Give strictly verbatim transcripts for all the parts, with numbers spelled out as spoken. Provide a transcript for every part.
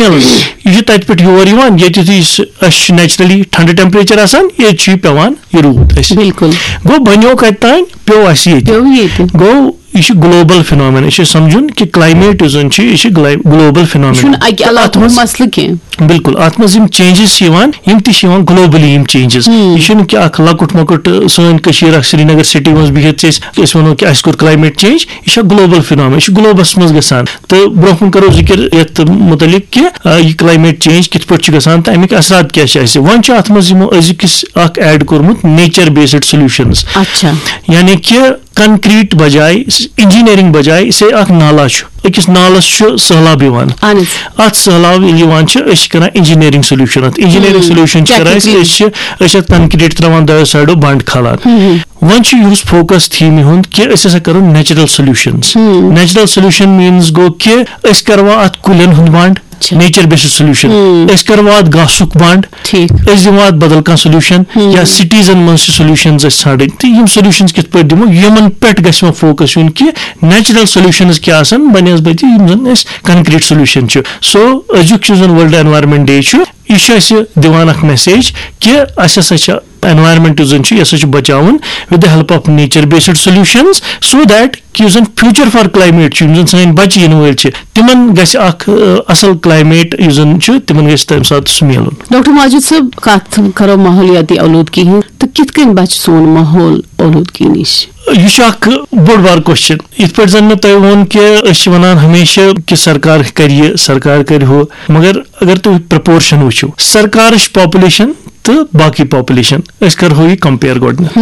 میلان۔ یہِ چھُ تَتہِ پٮ۪ٹھ یور یِوان، ییٚتہِ یُتھُے سُہ، اَسہِ چھُ نیچرلی ٹھنڈٕ ٹیمپریچر آسان، ییٚتہِ چھُ یہِ پٮ۪وان، یہِ روٗد اَسہِ۔ بِلکُل۔ گوٚو، بَنیو کَتہِ تام؟ پیوٚو اَسہِ ییٚتہِ۔ پیوٚو ییٚتہِ۔ گوٚو، یہِ چھُ گلوبل فِنامین۔ أسۍ چھِ سَمجھُن کہِ کلایمیٹ یُس زَن چھُ، یہِ چھُ گلوبل فِنامین۔ چھُنہٕ اَکہِ اَتھ علاقُک منٛز مسلہٕ کینٛہہ۔ بِلکُل، اَتھ منٛز یِم چینجز چھِ یِوان، یِم تہِ چھِ یِوان گلوبلی، یِم چینجز۔ یہِ چھُنہٕ کہِ اکھ لۄکُٹ مۄکُٹ، آ، سٲنۍ کٔشیٖر اکھ سرینگر سٹی منٛز بِہِتھ چھِ أسۍ، أسۍ وَنو کہِ اَسہِ کوٚر کلایمیٹ چینج۔ یہِ چھےٚ گلوبل فِنامین، یہِ چھُ گلوبس منٛز گژھان۔ تہٕ برونٛہہ کُن کرو ذِکِر یَتھ مُتعلِق کہِ، آ، یہِ کلایمیٹ چینج کِتھ پٲٹھۍ چھُ گژھان تہٕ اَمِکۍ اثرات کیٛاہ چھِ اَسہِ۔ وۄنۍ چھُ اَتھ منٛز یِمو أزیُک اکھ ایڈ کوٚرمُت، نیچر بیسڈ سولوشنز۔ اچھا۔ یعنی کہِ کنکریٹ بجاے، انجینئرنگ بجاے، سے اکھ نالا چھُ، أکِس نالس چھُ سہلاب یِوان۔ اہن حظ۔ اتھ سہلاب ییٚلہِ یِوان چھِ، أسۍ چھِ کران انجینئرنگ سولوشن۔ اتھ انجینئرنگ ہم۔ سولوشن چھِ کران أسۍ، Technically۔ أسۍ چھِ، أسۍ چھِ اتھ کنکریٹ تراوان دۄیو سایڈو بنڈ کھالان۔ وۄنۍ چھُ یُہُس فوکس تھیم یِہُنٛد کہِ أسۍ ہسا کرو natural solutions. Natural solution means گوٚو کہِ أسۍ کروا اتھ کُلٮ۪ن ہُنٛد بنڈ، اچھا۔ Nature based solution. أسۍ کروا اتھ گاسُک بنڈ، ٹھیٖک۔ أسۍ دِمو اتھ بدل کانٛہہ سولوشن، یا سٹیزن منٛز چھِ سولوشنز أسۍ ژھانڈٕنۍ۔ تہٕ یِم سولوشنز کِتھ پٲٹھۍ دِمو، یِمن پٮ۪ٹھ گژھِ وۄنۍ فوکس یُن کہِ نیچرل سولوشنز کیٛاہ آسن بنسبت یِم زن اَسہِ کنکریٹ سولوشن چھِ۔ سو أزیُک یُس زن ورلڈ انوائرمنٹ ڈے چھُ، یہِ چھُ اَسہِ دِوان اکھ میسیج کہِ اَسہِ ہسا چھِ انوائرمنٹ یُس زن چھُ، یہِ ہسا چھُ بچاوُن with the help of nature based solutions, so that کہِ یُس زن future for climate چھُ، یِم زن سٲنۍ بچہِ یِنہٕ وٲلۍ چھِ، تِمن گژھِ اکھ، آ، اصل کلایمیٹ یُس زن چھُ، تِمن گژھِ تمہِ ساتہٕ سُہ میلُن۔ ڈاکٹر ماجد صٲب، کتھ کرو ماحولیاتی آلودگی ہٕنٛز تہٕ کِتھ کٔنۍ بچہِ سون ماحول آلودگی نِش؟ یہِ چھُ اکھ بوٚڑ بار کوسچن۔ یِتھ پٲٹھۍ زن مےٚ تۄہہِ ووٚن کہِ أسۍ چھِ ونان ہمیشہِ کہِ سرکار کرِ یہِ، سرکار کرِ ہُہ، مگر اگر تُہۍ پرپورشن وٕچھِو، سرکارٕچ پاپولیشن تہٕ باقٕے پاپولیشن، أسۍ کرہو یہِ کمپیئر گۄڈٕنیتھ۔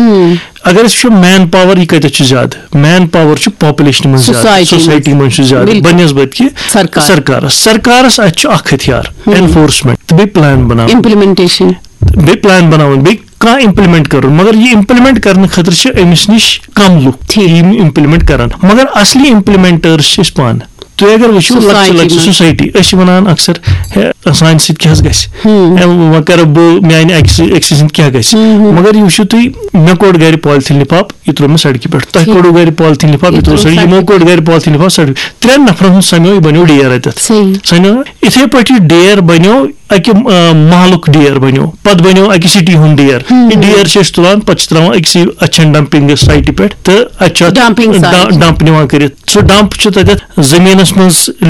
اگر أسۍ وٕچھو مین پاور، یہِ کتٮ۪تھ چھُ زیادٕ؟ مین پاور چھُ پاپولیشنہِ منٛز زیادٕ، سوسایٹی منٛز۔ سوسایٹی منٛز چھُ زیادٕ، بِلکُل۔ بنسبت کہِ سرکار۔ سرکارس۔ سرکارس اتہِ چھُ اکھ ہتھیار، انفورسمنٹ تہٕ بیٚیہِ پلان بناوُن۔ امپلیمنٹیشن۔ بیٚیہِ پلان بناوُن، بیٚیہِ کانٛہہ امپلمنٹ کرُن، مگر یہِ امپلمنٹ کرنہٕ خٲطرٕ چھِ أمِس نِش کم لُکھ، ٹھیٖک۔ یِم امپلمنٹ کرن، مگر اصلی امپلمنٹرس چھِ أسۍ پانہٕ۔ تُہۍ اگر وٕچھِو، لۄکچہِ سوسایٹی لۄکچہِ منٛز۔ سوسایٹی، أسۍ چھِ ونان اکثر، ہے، سانہِ سۭتۍ کیٛاہ حظ گژھِ؟ ہے، وۄنۍ کرٕ بہٕ، میانہِ أکۍ سٕنٛدِ، أکۍ سٕنٛدِ سۭتۍ کیٛاہ گژھِ؟ مگر یہِ وٕچھِو تُہۍ، مےٚ کوٚڑ گرِ پالیتھیٖن لِفاف، یہِ ترٛوو مےٚ سڑکہِ پٮ۪ٹھ۔ تۄہہِ کوٚڑوٕ گرِ پالیتھیٖن لِفاف، یہِ ترٛوو سڑکہِ۔ یِمو کوٚڑ گرِ پالیتھیٖن لِفاف سڑکہِ۔ ترٛٮ۪ن نفرن ہُنٛد سمیو، یہِ بنیو ڈیر اتٮ۪تھ۔ صحیح۔ سمیو۔ یِتھے پٲٹھۍ یہِ ڈیر بنیو، اکہِ، آ، محلُک ڈیر بنیو، پتہٕ بنیو اکہِ سٹی ہُنٛد ڈیر۔ یہِ ڈیر چھِ أسۍ تُلان، پتہٕ چھِ تراوان أکسٕے اچھن ڈمپنگ سایٹہِ پٮ۪ٹھ تہٕ اتہِ چھُ اتھ ڈمپنگ ڈ-، سایٹ۔ ڈمپ نِوان کٔرِتھ۔ سُہ ڈمپ چھُ تتٮ۪تھ زٔمیٖنس منٛز، آ،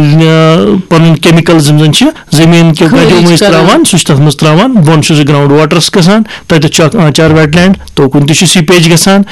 پنُن کیمیکل یِم زن چھِ زٔمیٖن کہِ خٲرج گجو مٔنٛزۍ کران۔ تراوان، سُہ چھُ تتھ منٛز تراوان، بۄن چھُ سُہ گراوُنڈ واٹرس گژھان، تتٮ۪تھ چھُ اکھ آنچار ویٹ لینڈ، توکُن تہِ چھُ سیپیج گژھان،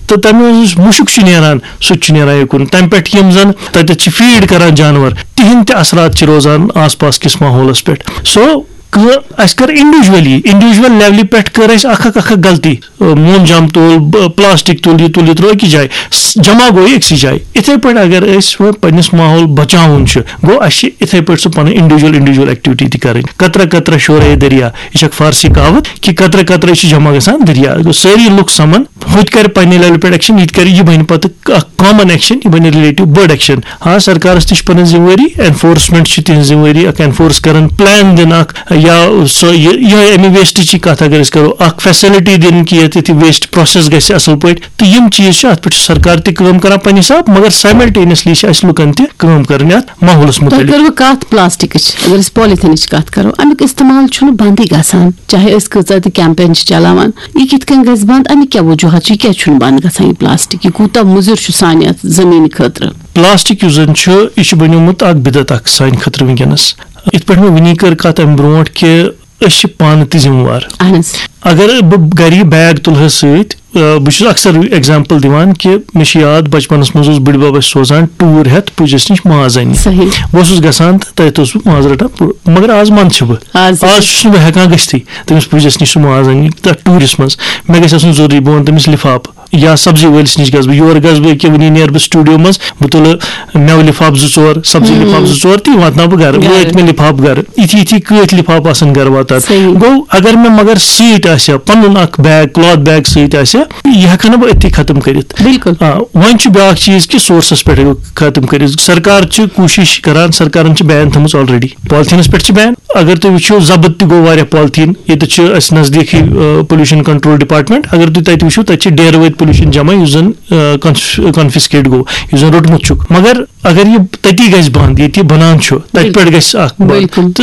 تہٕ تمہِ منٛز یُس مُشُک چھُ نیران، سُہ تہِ چھُ نیران یُکُن۔ تمہِ پٮ۪ٹھ یِم زن تتٮ۪تھ چھِ فیڈ کران جانور، تِہنٛدۍ تہِ اثرات چھِ روزان آس پاس کِس ماحولس پٮ۪ٹھ۔ سو کٲ-، اَسہِ کٔر انڈیویجولی، انڈیویجول لیولہِ پٮ۪ٹھ کٔر اَسہِ اکھ اکھ اکھ اکھ غلطی۔ موم جام تُل، ب-، پلاسٹک تُل، یہِ تُل، یہِ ترٛوو أکِس جایہِ۔ س-، جمع گوٚو یہِ أکسٕے جایہِ۔ یِتھے پٲٹھۍ اگر أسۍ وۄنۍ پننِس ماحول بچاوُن چھُ، گوٚو اَسہِ چھِ یِتھے پٲٹھۍ سُہ پنٕنۍ انڈیویجول، انڈیویجول ایکٹیویٹی تہِ کرٕنۍ۔ قطرہ قطرہ شورے دریا، یہِ چھِ اکھ فارسی کہاوت کہِ قطرہ قطرہ چھِ جمع گژھان دریا۔ گوٚو سٲری لُکھ سمن، ہُہ تہِ کرِ پننہِ لیولہِ پٮ۪ٹھ ایکشن، یہِ تہِ کرِ، یہِ بنہِ پتہٕ اکھ کامن ایکشن، یہِ بنہِ ریلیٹو بٔڑ ایکشن۔ ہاں، سرکارس تہِ چھِ پنٕنۍ ذمہٕ وٲری، انفورسمنٹ چھِ تِہنٛز ذمہٕ وٲری، اکھ انفورس کرن، پلان دِن اکھ، یا سۄ یہِ، یِہوٚے اَمہِ ویسٹٕچی کتھ اگر أسۍ کرو، اکھ فیسلٹی دِن کہِ ییٚتہِ یہِ ویسٹ پروسیس گژھِ اصل پٲٹھۍ۔ تہٕ یِم چیٖز چھِ، اتھ پٮ۪ٹھ چھِ سرکار تہِ کٲم کران پننہِ حساب، مگر سایملٹینیسلی چھِ اسہِ لُکن تہِ کٲم کرٕنۍ اتھ ماحولس تۄہہِ مُتعلق۔ کٔروٕ کتھ پلاسٹکٕچ؟ اگر أسۍ پالیتھینٕچ کتھ کرو، امیُک استعمال چھُنہٕ بندٕے گژھان، چاہے أسۍ کۭژاہ تہِ کیمپین چھِ چلاوان۔ یہِ کِتھ کٔنۍ گژھِ بند؟ امیُک کیٛاہ وجوہات چھِ؟ یہِ کیٛازِ چھُنہٕ بند گژھان یہِ پلاسٹک؟ یہِ کوٗتاہ مُضر چھُ سانہِ اتھ زٔمیٖنہِ خٲطرٕ؟ پلاسٹک یُس زن چھُ، یہِ چھُ بنیومُت اکھ بدعت اکھ سانہِ خٲطرٕ وٕنکیٚنس۔ یِتھ پٲٹھۍ مےٚ وٕنی کٔر کتھ امہِ برونٛٹھ کہِ أسۍ چھِ پانہٕ تہِ ذمہٕ وار۔ اہن حظ۔ اگر بہٕ گرِ یہِ بیگ تُلہٕ ہا سۭتۍ، آ، بہٕ چھُس اکثر ایگزامپل دِوان کہِ مےٚ چھُ یاد، بچپنس منٛز اوس بٕڈِ بب اسہِ سوزان ٹوٗر ہٮ۪تھ پُجس نِش ماز اننہِ۔ صحیح۔ بہٕ اوسُس گژھان تہٕ تتہِ اوسُس بہٕ ماز رٹان۔ پوٗرٕ، مگر آز منٛد چھُ بہٕ۔ آز تہِ۔ آز چھُس نہٕ بہٕ ہٮ۪کان گٔژھتھٕے تٔمِس پُجس نِش سُہ ماز اننہِ تتھ ٹوٗرِس منٛز۔ مےٚ گژھِ آسُن ضروٗری، بہٕ وَنہٕ تٔمِس لِفافہٕ۔ یا سبزی وٲلِس نِش گژھٕ بہٕ، یورٕ گژھٕ بہٕ، ییٚکیٛاہ وٕنی نیرٕ بہٕ سٹوڈیو منٛز، بہٕ تُلہٕ مٮ۪وٕ لِفاف زٕ ژور، سبزی لِفاف زٕ ژور، تہٕ واتناو بہٕ گرٕ، گرٕ۔ وٲتۍ مےٚ لِفاف گرٕ۔ یِتھی یِتھی کۭتۍ لِفاف آسن گرٕ واتان۔ صحیح۔ گوٚو، اگر مےٚ مگر سۭتۍ آسہِ ہا، پنُن اکھ بیگ، کلاتھ بیگ سۭتۍ آسہِ ہا، یہِ ہٮ۪کہٕ ہا نہٕ بہٕ أتھی ختم کٔرِتھ۔ بِلکُل۔ آ، وۄنۍ چھُ بیٛاکھ چیٖز کہِ سورسس پٮ۪ٹھ ہیٚکو ختم کٔرِتھ۔ سرکار چھِ کوٗشِش کران، سرکارن چھِ بین تھٲومٕژ already۔ پالیتھیٖنس پٮ۪ٹھ چھِ بین۔ اگر تُہۍ وٕچھِو، ضبط تہِ گوٚو واریاہ پالیتھیٖن۔ ییٚتہِ چھِ اَسہِ نزدیٖکٕے، آ، پولوشن کنٹرول ڈپارٹمنٹ۔ اگر تُہۍ تَتہِ وٕچھِو، تَتہِ چھِ ڈیرٕ وٲتۍ پولیوشن جمع یُس زن کنفسکیٹ گوٚو، یُس زن روٚٹمُت چھُکھ، مگر اگر یہِ تٔتی گژھِ بنٛد ییٚتہِ یہِ بنان چھُ، تتہِ پٮ۪ٹھ گژھِ اکھ بنٛد۔ بِلکُل۔ تہٕ